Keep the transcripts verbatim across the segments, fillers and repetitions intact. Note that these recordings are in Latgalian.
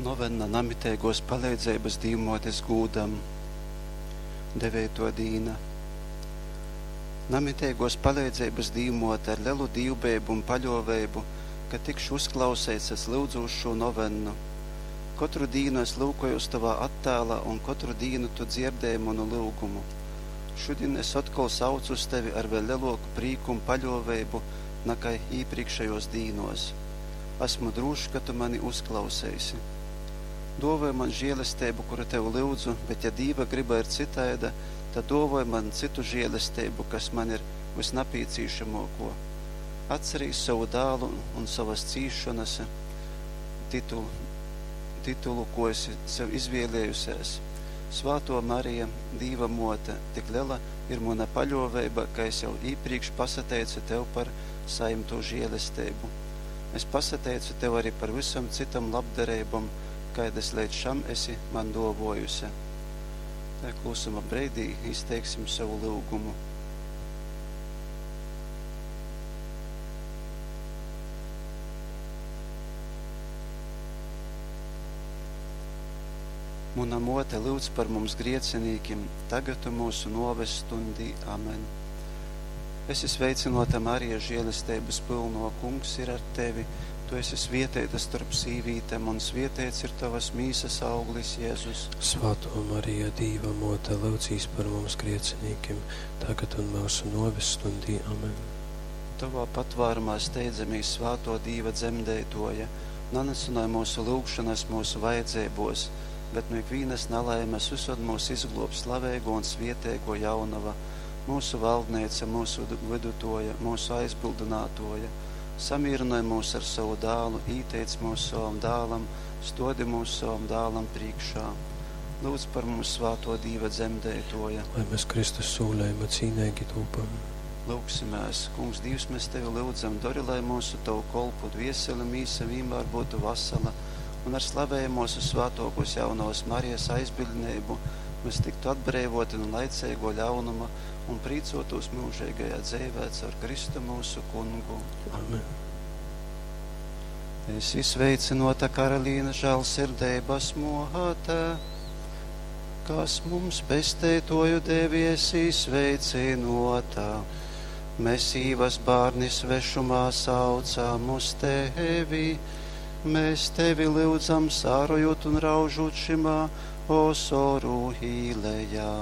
Novenna namiteigōs paleidzeibas Dīvmōtes gūdam. Deveitō dīna. Namiteigōs paleidzeibas Dīvmōte, ar lelu dīvbejeibu un paļōveibu, ka tikšu uzklauseits, es lyudzūs šū novennu. Kotru dīnu es lyukojūs tovā attēlā un kotru dīnu tu dzierdēji munu lyugumu. Šudin es otkol saucu uz tevi ar vēļ lelōku prīku un paļōveibu nakai īprīkšejōs dīnōs. Asmu drūšs, ka tu mani uzklauseisi. Dōvoj man žēlesteibu, kuru tev lyudzu, bet ja Dīva gryba ir cytaida, tad dōvoj man cytu žēlesteibu, kas man ir vysnapīcīšamōkō. Atcerīs sovu dālu un sovas cīsšonas titulu, titulu, ko esi sev izvēlējusies. Svātō Marija, Dīva mōte, tik lela ir muna paļōveiba, ka es jau īprīkš pasateicu tev par sajimtū žēlesteibu. Es pasateicu tev arī par vysom cytom labdareibom, kaidas leidz šam esi man dōvōjuse. Tā klusuma breidī izteiksim savu lyugumu. Muna mōte lyudz par mums griecinīkim, tagad un mūsu nōves stundī. Amen. Esi sveicynōta, Marija, žēlesteibas pylnō, Kungs ir ar tevi. Tu esi svieteita storp sīvītem, un svieteits ir tovas mīsas auglis, Jēzus. Svātō Marija, Dīva mōte, lyudzīs par mums griecinīkim, tagad un myusu nōves stundī. Amen. Tovā patvārumā steidzamīs, svātō Dīva dzemdeitōja, nanycynoj mūsu lyugšonas mūsu vajadzeibōs, bet nu ikvīnas nalaimes vysod mūs izglōb slaveigō un svieteigō jaunova, mūsu valdneica, mūsu vydutoja, mūsu aizbildinātoja. Samīrynoj mūs ar sovu dālu, īteic mūs sovam dālam, stodi mūs sovam dālam prīkšā. Lūdz par mums svātō Dīva dzemdeitoja. Lai mēs Kristus sūlējuma cīneigi tūpam. Lūgsimēs, Kungs Dīvs, mēs Tevi lyudzam, dori, lai mūsu Tavu kolpu dvieseli mīsa vienmēr būtu vasala un ar slavējamos un svātōkos jaunavas Marijas aizbildneibu mēs tiktu atbreivoti no laiceigo ļaunuma un prīcotos mūžīgajā dzeivē caur Kristu mūsu kungu. Amen. Esi sveicināta, Karalīna, žēlsirdības mote, kas mums pesteitoju devi, esi sveicināta. Mēs īvas bārni svešumā saucam uz tevi, mēs tevi lyudzam, sārojot un raužot šimā osoru īlejā.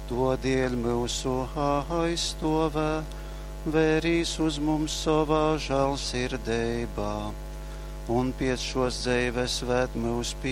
Todēļ mūsu aizstovē, vērīs uz mums savā žēlsirdībā, un pēc šos dzeives ved mūs pie